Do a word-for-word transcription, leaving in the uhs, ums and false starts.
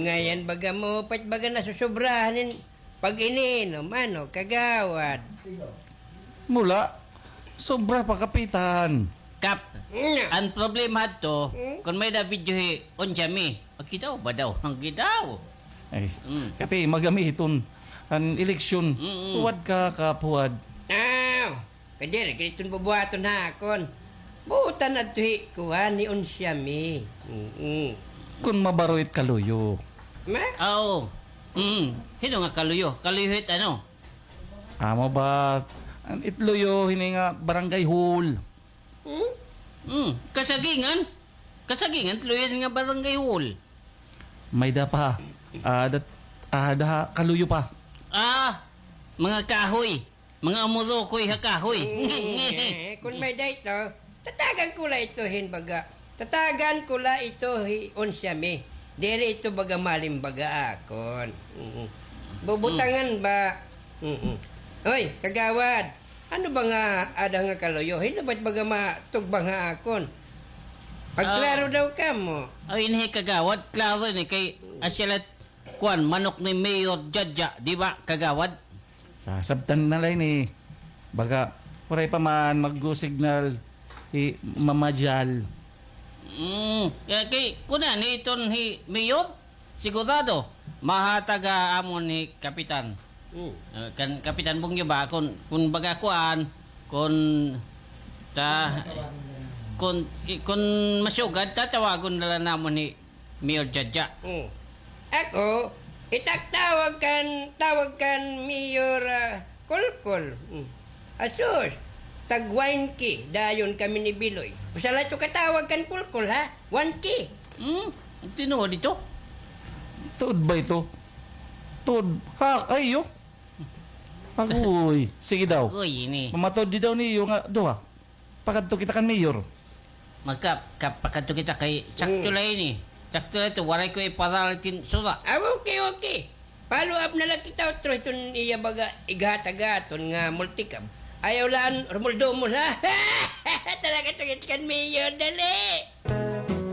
Ngayan baga mo, pait baga nasusobrahan hin pag-ininom, ano, kagawad? Mula, sobra pa, Kapitan. Kap, mm, an problema hadto, hmm? Kon may-ada video hi Onsyami, makita ba daw? Makita. Ay, mm, kati magamiton an eleksyon. Mm-mm. Huwad ka, Kap, huwad. Aw, kay diri gad iton bubuhaton ha akon. Buotan adto hi kuan, hi Onsyami. Mm-mm. Kon mabaro it kaluyo. Ma? Aw. Mm. Hin-o nga kaluyo? Kaluyo hit ano? Amo ba, an it luyo hini nga barangay hall. Hmm? Hmm, kasagingan? Kasagingan, it luyo hini nga barangay hall. May-ada pa. Ah, dat-, ah, daha kaluyo pa. Ah, mga kahoy. Mga umurukoy ha kahoy. Hmm, eh, kon may-ada ito, tatagan ko la ito hin baga. Tatagan ko la ito hi Onsyami. Diri ito baga malimbaga akon. Mm. Bubutangan ba? Mm. Hoy, kagawad, ano ba nga ada nga kaluyo? Hin-o ba it baga matugbang ha akon? Pagklaro daw kamo. Ay, ini kagawad, klaro ini kay asya la kuan, manok ni Mayor Jadja, di ba, kagawad? Sa sabtan na la ini, baga, waray pa man mag-go signal, hi Mama Jal. Mm, kay, kay, kuan, iton hi Mayor, sigurado, mahatag ha amon hi Kapitan. Mm. Ah, kan Kapitan Bungyo ba, kun, kun baga kuan, kun, ta, kun, i-, kun masugad, tatawagon na la namon hi Mayor Jadja. Mm. Ako, itatawag kan, tawag kan Mayor, ah, Kulkul. Mm. Asus, tag one K, dayon kami ni Biloy. Usa la ito katawag kan Kulkul, ha? One K. Hmm? Tinuod ito? Tuod ba ito? Tuod. Ha, ay, yo. Agoy. Sige daw. Agoy, ini. Mamatod di daw niyo nga duha. Pakadto kita kan mayor. Magka-, ka-, pakadto kita kay sakto la ini. Sakto la ito, waray ko iparaltin sura. Ah, okay, okay. Follow up na la kita, utro, iton iya baga ighatag aton nga multicab. Ayaw la an rumuldomol, ha? Talaga, tungit kan mayor, dali.